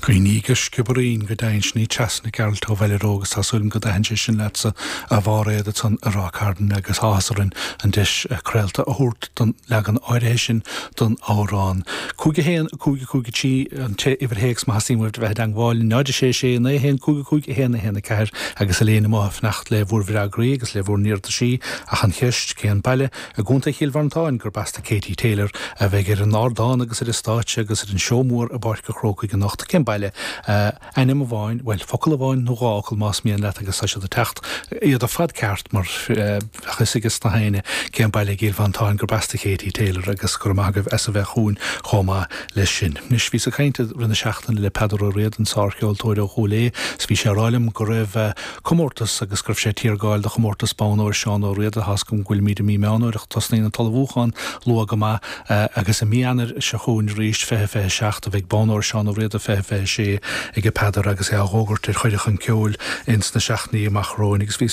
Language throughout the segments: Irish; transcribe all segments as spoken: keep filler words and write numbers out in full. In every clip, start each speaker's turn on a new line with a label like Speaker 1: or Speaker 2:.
Speaker 1: Cuimhnigh go Sciobairín go deimhin sin í Trasna Gearailt ó Bhaile Ró agus tá súil agam go dtaithin sé sin leatsa a Mháiréad ansan i Ráth Cairn agus áthas orainn an deis craolta a thabhairt don leagan áirithe sin don amhrán. Cúig a haon a cúig a cúig a trí an t-uimhir théacs má theastaíonn uaibh a bheith i dteangmháil náid a sé sé naoi a haon cúig a cúig a haon a haon a ceathair agus Elaine amuigh ag fanacht le bhur bhfreagraí agus le bhur n-iarrataisí ach an cheist cén baile i gContae Chill Mhantáin gurb as do Katie Taylor a bheidh ar an ardán agus ar an stáitse agus ar an seó mór i bPáirc an Chrócaigh anocht cén baile ainm amháin, bhuel, focal amháin nó dhá fhocal más mian leat agus tá siad ag teacht iad ar fad ceart mar bheadh fhios ag na héinne cén baile i gCill Mhantáin gurb as do Katie Taylor agus go raibh maith agaibh as a bheith chugainn chomh maith leis sin. Anois bhíos ag caint i rith na seachtaine le Peadar Ó Riada an sárcheoltóir ó Chúil Aodha 's bhí sé ag rá liom go raibh comórtas agus go raibh sé ag tiargáil do chomórtas Bonn Óir Seán Ó Riada tá's agam go bhfuilimid i mí Meán Fhómhair ach tosnaíonn an t-ullmhúchán luath go maith agus i mí Eanáir seo chugainn arís fiche fiche seacht a bheidh Bonn Óir Seán Ó Riada fiche fiche sé ag Peadar agus é á dh'fhógairt ar chuireadh chun ceoil ins na seachtainí amach romhainn agus bhí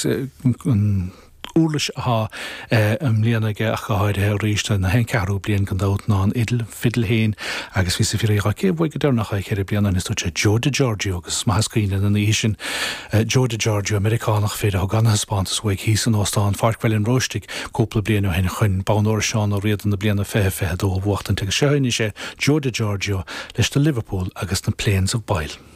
Speaker 1: an uirlis atá i mbliana aige ach go háirithe arís na haon ceathrú bliain gan dabht ná an fhidil fidil féin agus bhíos ag fiafraí dhe cé bhuaigh go deireanach é ceithre bliana ó shin is dúirt sé Joe DiGiorgio agus is maith is cuimhin linn an oíche sin Joe DiGiorgio Meiriceánach fir a thug an-thaispeántas uaidh thíos in Óstán Pháirc Bhaile an Róistigh cúpla bliain ó shin chun Bonn Óir Seán Ó Riada na bliana fiche fiche dó a bhuachtaint agus seo anois é Joe DiGiorgio leis na Liverpool agus na Plains of Bile.